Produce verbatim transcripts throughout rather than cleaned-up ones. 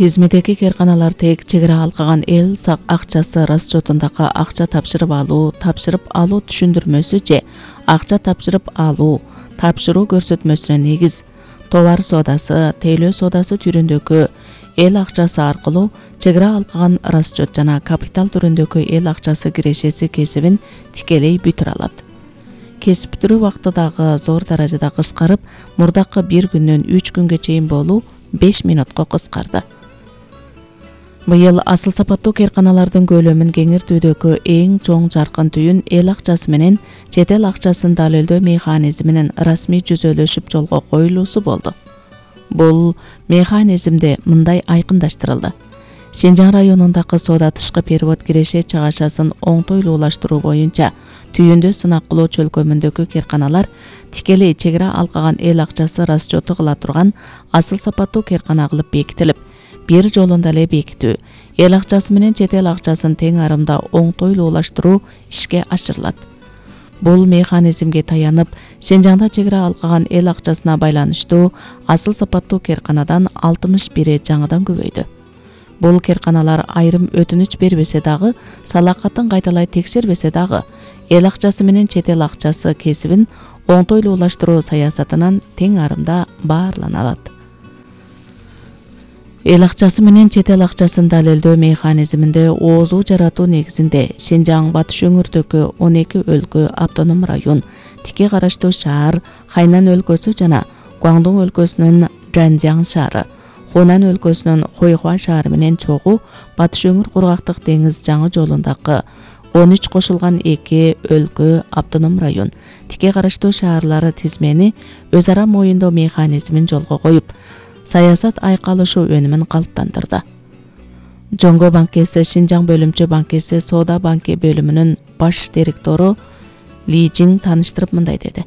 Тизмедеги кээрканалар тек чек ара алкаган эл сак акчасы расчетундагы акча тапшырып алуу, тапшырып алуу түшүндүрмөсү же акча тапшырып алуу, тапшыруу көрсөтмөсүнө негиз товар соодасы, тейлөө соодасы түрүндөгү эл акчасы аркылуу чек ара алкаган расчет жана капитал түрүндөгү эл акчасы кирешеси кесибин тикелей бүтүрө алат. Кесип бүтүрүү убакыты дагы зор даражада кыскарып, мурдакы бир күндөн үч күнгө чейин болуу беш минутка кыскарды. Быйыл асыл сапаттуу кээрканалардын көлөмүн кеңиртүүдөгү эң чоң жаркын түйүн эл акчасы менен чет эл акчасын далилдөө механизминин расмий жүзөлөшүп жолго коюлуусу болду. Бул механизмде мындай айкындаштырылды. Синжаң районундагы соода тышкы перевод киреше чыгашасын оңтойлуулаштыруу боюнча түйүндө сынак кылуу чөлкөмүндөгү кээрканалар тикелей чек ара алкаган эл акчасы расчету кыла турган асыл сапаттуу кээркана кылып бекитилип, бир жолунда эле бекитүү, эл акчасы менен чет эл акчасын тең арымда оңтойлуулаштыруу ишке ашырылат. Бул механизмге таянып, Синжаңда чек ара алкаган эл акчасына байланыштуу асыл сапаттуу кээрканадан алтымыш бири жаңыдан көбөйдү. Бул кээрканалар айрым өтүнүч бербесе дагы, салакатын кайталай текшербесе дагы, эл акчасы менен чет эл акчасы кесибин оңтойлуулаштыруу саясатынан тең арымда баарлана алат. Эл акчасы менен чет эл акчасын далилдөө механизминде оозуу жаратуу негизинде Синжаң батыш өңүрдөгү он эки өлкө, автоном район, тике караштуу шаар, Хайнан өлкөсү жана Гуандун өлкөсүнүн Жанжяң шаары, Хунан өлкөсүнүн Хойхуа шаары менен чогуу Батыш өңүр кургактык деңиз жаңы жолундагы он үч кошулган эки өлкө, автоном район, тике караштуу шаарлары тизмени өз ара моюндоо механизмин жолго коюп, саясат айкалышуу өнүмүн калыптандырды. Жоңго банкеси Синжаң бөлүмчө банкеси Соода банки бөлүмүнүн баш директору Ли Жиң тааныштырып мындай деди.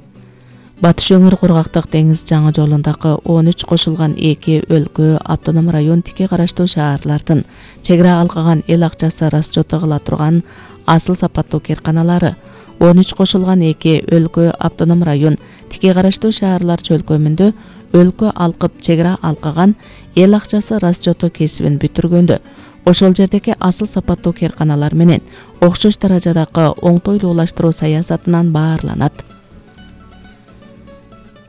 Батыш өңүр кургактык деңиз жаңы жолундагы он үч кошулган эки өлкө, автоном район, тике караштуу шаарлардын чек ара алкаган эл акчасы расчету кыла турган асыл сапаттуу кээрканалары, он үч кошулган эки өлкө, автоном район, тике караштуу шаарлар чөлкөмүндө өлкө алкып чек ара алкаган эл акчасы расчету кесибин бүтүргөндө, ошол жердеги асыл сапаттуу кээрканалар менен окшош даражадагы оңтойлуулаштыруу саясатынан баарланат.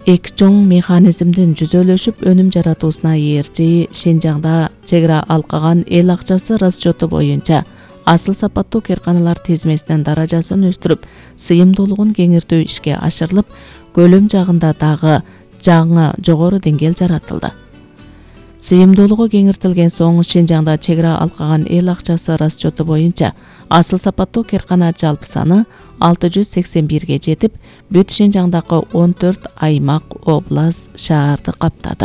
Эки чоң механизмдин жүзөлөшүп өнүм жаратуусуна ээрчи Синжаңда чек ара алкаган эл акчасы расчету боюнча асыл сапаттуу кээрканалар тизмесинин даражасын өстүрүп, сыйымдуулугун кеңиртүү ишке ашырылып, көлөм жагында дагы жаңы жогору деңгээл жаратылды. Сыйымдуулугу кеңиртилген соң Синжаңда чек ара алкаган эл акчасы расчету боюнча асыл сапаттуу кээркана жалпы саны алты жүз сексен бирге жетип, бүт Синжаңдагы он төрт аймак, область, шаарды каптады.